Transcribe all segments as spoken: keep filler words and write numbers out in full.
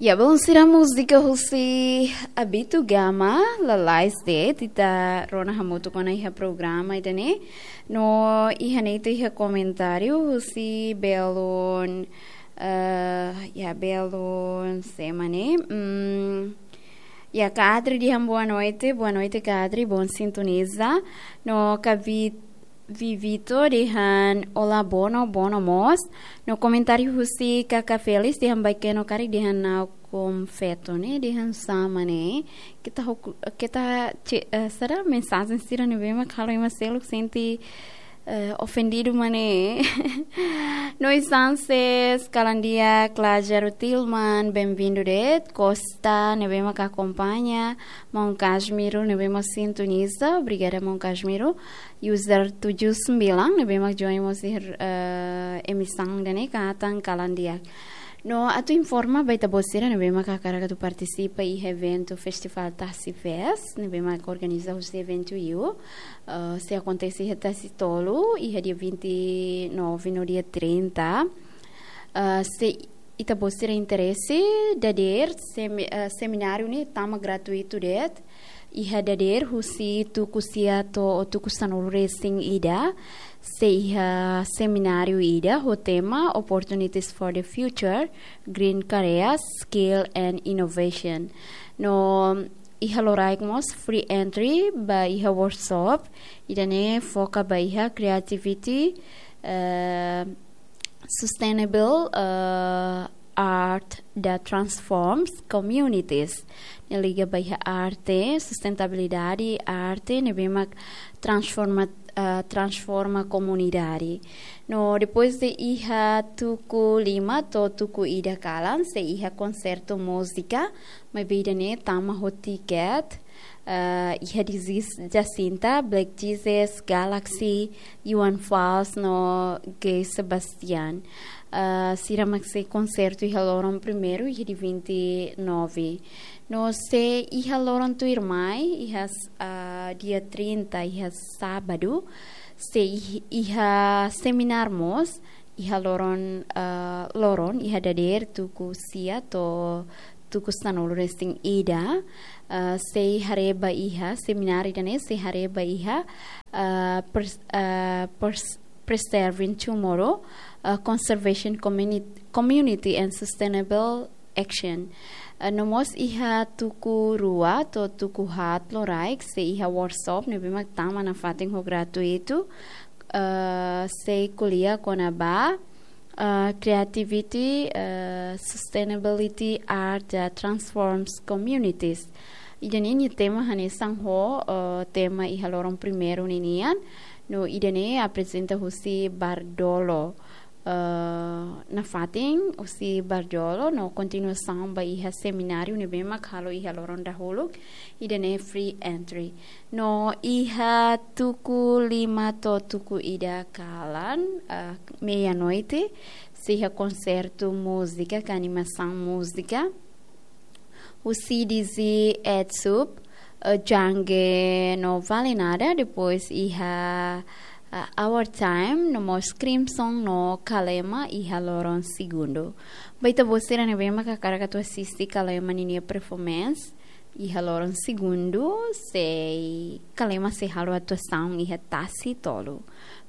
Ya, belun sira, múzika husi Abito Gama, lalais de'it, ita rona hamutuk ona iha programa ida-ne'e. No iha ne'e ita iha komentáriu husi belun, eh, ya, belun sé mak ne'e. Mm, ya, Kadri dehan boa noite, boa noite Kadri, bom sintoniza. No Kavi- Vivito dehan olá, boa noite, boa noite mós. No komentáriu husi Kaka Felis dehan baikeno karik dehan nau konfeto ne'e, dehan sama ne'e. Keta hoku, keta ce-, eh, sira mensajen sira ne'ebé mak halo ema seluk sente, eh, ofendidu mak ne'e. No Sanses, kalan di'ak, Lázaro Tilman, bem-vindo de'it. Costa, ne'ebé mak akompaña. Maun Kasmiro, ne'ebé mak sintoniza. Obrigada, maun Kasmiro. User tujuh sembilan, ne'ebé mak join mós iha, eh, emisaun ida-ne'e, katak kalan di'ak. No atu informa ba ita-boot sira ne'ebé mak hakarak atu partisipa iha eventu Festival Tasi Fest, ne'ebé mak organiza husi Eventu U, eh, sei akontese iha Tasi Tolu, iha dia vinte e nove no dia trinta. Eh, se ita-boot sira interese, dadeer semi-, eh, semináriu ne'e tama gratuitu de'it. Iha dadeer husi tuku sia to'o tuku sanulu-resin-ida, sei iha semináriu ida ho tema Opportunities for the Future, Green Careers, Skill and Innovation. No iha loraik mós free entry ba iha workshop, ida-ne'e foka ba iha creativity, eh, sustainable, eh, art that transforms communities. Ne'e liga ba iha arte, sustentabilidade, arte ne'ebé mak transforma, eh, transforma komunidade. No depois de iha tuku lima to'o tuku ida kalan, sei iha konsertu múzika, maibé ida-ne'e tama ho tiket, eh, iha Dizzy Jacinta, Black Jesus, Galaxy, Johan Falls no Gay Sebastian. Eh, sira mak sei konsertu iha loron primeiru, iha dia vinte e nove. No se iha loron tuirmai, iha s-, eh, dia trinta, iha sábadu, sei ih-, iha semináriu mós, iha loron, eh, loron, iha dadeer tuku sia to'o tuku sanulu-resin-ida, eh, sei haree ba iha, semináriu ida-ne'e sei haree ba iha, eh, pres-, eh, pres-, Preserving Tomorrow, eh, Conservation Communi-, Community and Sustainable Action. Eh, no mós iha tuku rua to'o tuku haat loraik, sei iha workshop ne'ebé mak tama nafatin ho gratuitu, eh, sei ko'alia kona-ba, eh, creativity, eh, sustainability, art that transforms communities. Ida-ne'e nia tema hanesan ho, eh, tema iha loron primeiru ninian. No ida-ne'e aprezenta husi Bardolo, eh, nafatin husi Bardolo, no kontinuasaun ba iha semináriu ne'ebé mak halo iha loron dahuluk, ida-ne'e free entry. No iha tuku lima to'o tuku ida kalan, ah, meia-noite, sei iha konsertu múzika, ka animasaun múzika. Husi Dizzy Edsup, eh, Jange no Vale Nada, depois iha, eh, Our Time, no mós Crimson no Kalema iha loron segundu. Ba ita-boot sira ne'ebé mak hakarak atu asiste Kalema ninia performance iha loron segundu, sei Kalema sei halo atuasaun iha Tasi Tolu.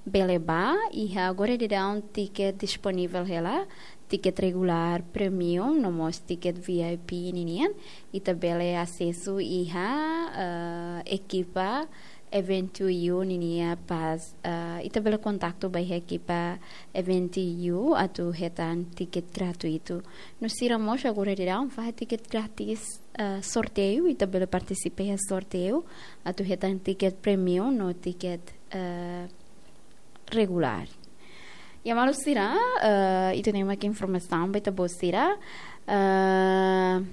Bele bá, iha agora daudaun tiket disponivel hela, tiket regulár, premium, no mós tiket V I P ninian, ita bele asesu iha, eh, ekipa Eventu U ninia pájina, eh, ita bele kontaktu ba iha ekipa Eventu U atu hetan tiket gratuitu. No sira mós agora daudaun fahe tiket grátis, eh, sorteiu, ita bele partisipa iha sorteiu atu hetan tiket premium no tiket, eh, regulár. Ya, maluk sira, eh, ida-ne'e mak informasaun ba ita-boot sira. Eh,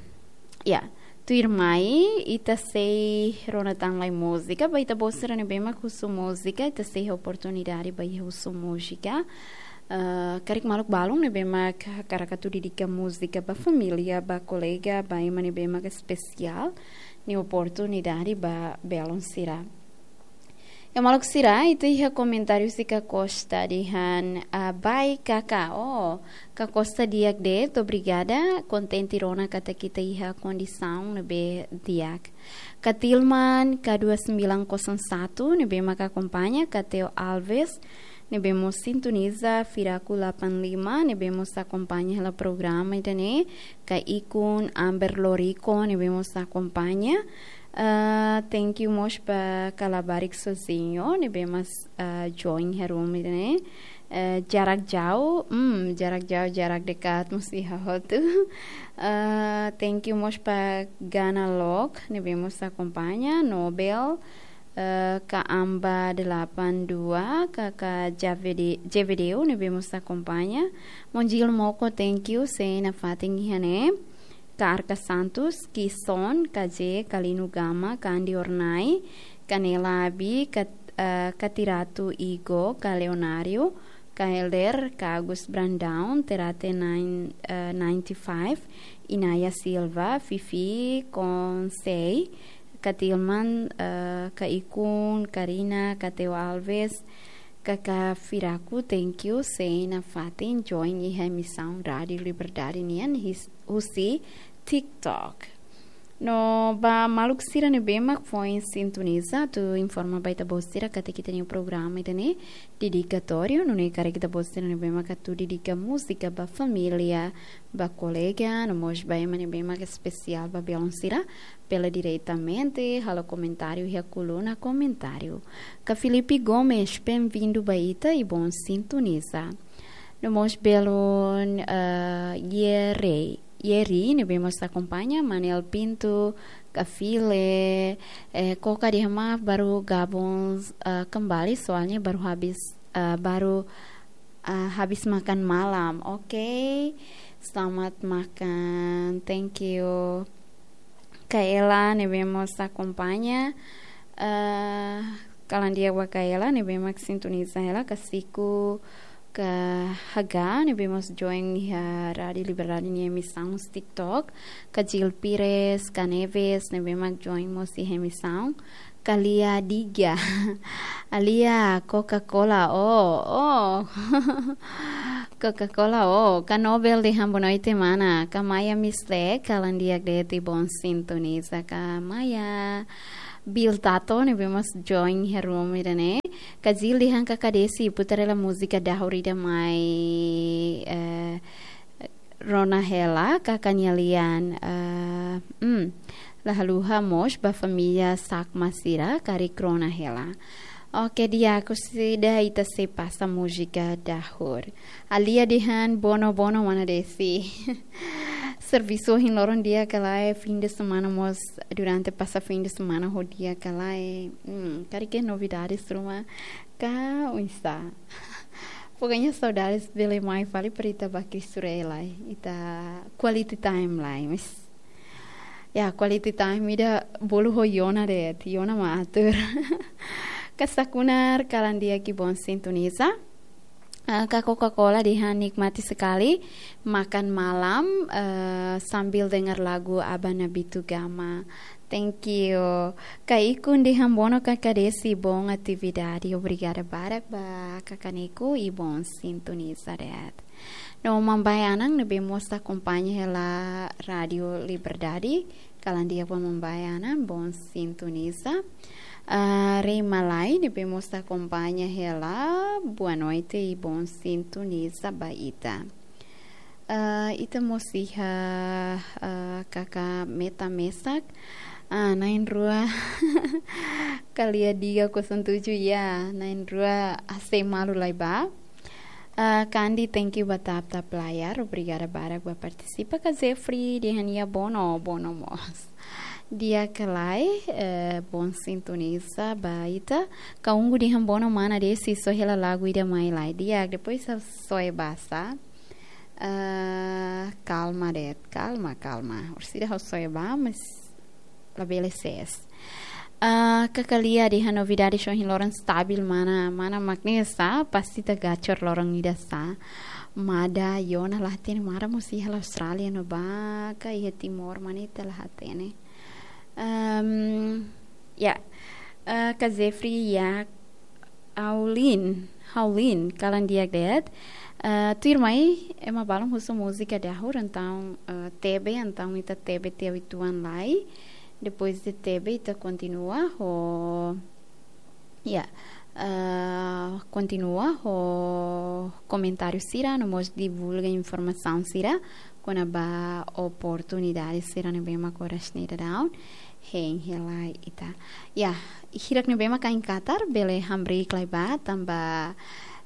ya, tuirmai, ita sei rona tan lai múzika, ba ita-boot sira ne'ebé mak husu múzika, ita sei oportunidade ba iha husu múzika. Eh, karik maluk balun ne'ebé mak hakarak atu dedika múzika ba família, ba kolega, ba ema ne'ebé mak espesiál, nia oportunidade ba belun sira. Ya, maluk sira, ita iha komentáriu husi Ka Costa dehan, ah, bai Kaka, oh, Ka Costa di'ak de'it, obrigada, kontente rona katak ita iha kondisaun ne'ebé di'ak. Ka Tilman, K dua sembilan kosong satu, ne'ebé maka akompaña, Ka Teo Alves, ne'ebé mós sintoniza, Firaku delapan lima, ne'ebé mós akompaña hela programa ida-ne'e, Ka Ikun, Amber Lorico, ne'ebé mós akompaña. Ah, thank you mós ba Ka Labarik Sozinho, ne'ebé mós, ah, join iha room ida-ne'e. Eh, jarak jauh, hmm, jarak jauh, jarak dekat, mós iha hotu. Ah, thank you mós ba Gana Lok, ne'ebé mós akompaña, Nobel, eh, Ka Amba delapan dua, Ka, Ka Javede-, Jevedeu, ne'ebé mós akompaña. Monjil Moko, thank you, sei nafatin iha ne'e. Ka Arka Santos, Kison, Ka Je, Ka Linu Gama, Ka Andi Ornai, Ka Nela Abi, Ka, eh, Ka Tiratu Igo, Ka Leonário, Ka Helder, Ka Agus Brandão, Terate nine, eh, ninety five, Inaya Silva, Fifi Konsei, Ka Tilman, eh, Ka Ikun, Karina, Ka Teo Alves, Kaka Firaku, thank you, sei nafatin join iha emisaun Rádiu Liberdade nian his-, husi TikTok. No ba maluk sira ne'ebé mak foin sintoniza, atu informa ba ita-boot sira katak ita-nia programa ida-ne'e dedikatóriu, nune'e karik ita-boot sira ne'ebé mak atu dedika múzika ba família, ba kolega, no mós ba ema ne'ebé mak espesiál ba belun sira, bele diretamente halo komentáriu iha koluna komentáriu. Ka Filipe Gomes, bem-vindo ba ita i bon sintoniza. No mós belun, eh, Yeri, Yeri, ne'ebé mós akompaña, Manuel Pinto, Ka File, eh, Koka dehan maaf baru gabung, eh, kembali, soalnya baru habis, eh, baru, eh, habis makan malam. Oke, selamat makan. Thank you. Ka Ela, ne'ebé mós akompaña. Eh, kalan di'ak ba Ka Ela, ne'ebé mak sintoniza hela, Ka Siku, Ka Haga, ne'ebé mós join iha Rádiu Liberdade nia emisaun TikTok. Ka Jil Pires, Ka Neves, ne'ebé mak join mós iha emisaun. Ka Lia Diga. Alia, Coca-Cola, oh, oh. Coca-Cola, oh. Ka Nobel dehan boa noite, mana. Ka Maya Misle, kalan di'ak de'it i bon sintoniza. Ka Maya. Bill Tato, ne'ebé mós join iha room ida-ne'e. Ka Jil dehan Kaka Desi, putar hela múzika dahur ida mai, eh, rona hela, Kaka nia lian, eh, hmm, la haluha mós ba família Sakma sira, karik rona hela. Oke, di'ak, orsida ita sei pasa múzika dahur. Alia dehan bono, bono, mana Desi. Servisu ohin loron di'ak ka lae, fim de semana mós, durante pasa fim de semana ho di'ak ka lae. Hmm, karik iha novidades ruma ka oinsá. Pokoknya saudades bele mai fali para ita bá Cristo Rei lai. Ita quality time lai, mas. Ya, quality time ida bolu ho Yona de'it. Yona mak atur. Ka Sakunar, kalan di'ak i bon sintoniza. Eh, Ka Coca-Cola dehan nikmati sekali makan malam, eh, sambil dengar lagu Aba Nabitu Gama. Thank you. Ka Ikun dehan bono Kaka Desi, bon atividade. Obrigada barak ba Kaka Niku i bon sintoniza de'it. No Mambai Anang ne'ebé mós akompaña hela Rádiu Liberdade. Kalan di'ak ba Mambai Anang, bon sintoniza. Ah, Rei Malai ne'ebé mós akompaña hela, boa noite i bon sintoniza ba ita. Ah, ita mós iha, ah, Kaka Meta Mesak. Ah, na'in-rua. Ka Lia Diga kosong tujuh ya, na'in-rua, ah, sei malu lai ba. Ah, Kandi, thank you ba tap-tap layar. Obrigada barak ba partisipa. Ka Jeffrey dehan nia bono, bono mós. Di'ak ka lae, eh, bon sintoniza ba ita. Ka Ungu dehan bono mana Desi, soe hela lagu ida mai lai. Di'ak, depois ha'u soe bá sá. Eh, kalma de'it, kalma, kalma. Orsida ha'u soe bá, mas labele sees. Ah, Kaka Lia dehan novidade ohin loron stabil mana, mana mak ne'e sá, pasti ita gacor loron ida sá. Mada Yona la hatene, Mara mós iha Austrália no ba ka iha Timor, mana ita la hatene. Ehm, ya. Eh, Ka Jeffrey ya, Haulin, Haulin, kalan di'ak de'it. Eh, tuirmai, ema balun husu múzika dahuluk, entaun, eh, tebe, entaun ita tebe tiha uitoan lai. Depois de tebe, ita kontinua ho, ya, eh, kontinua ho komentáriu sira, no mós divulga informasaun sira kona-ba oportunidade sira ne'ebé mak oras ne'e daudaun hein hela ita. Ya, hirak ne'ebé mak ain Qatar, bele hamriik lai ba, tanba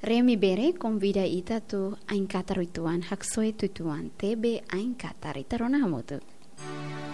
Remi Bere konvida ita atu ain Qatar uitoan, haksoit uitoan, tebe ain Qatar, ita rona hamutuk.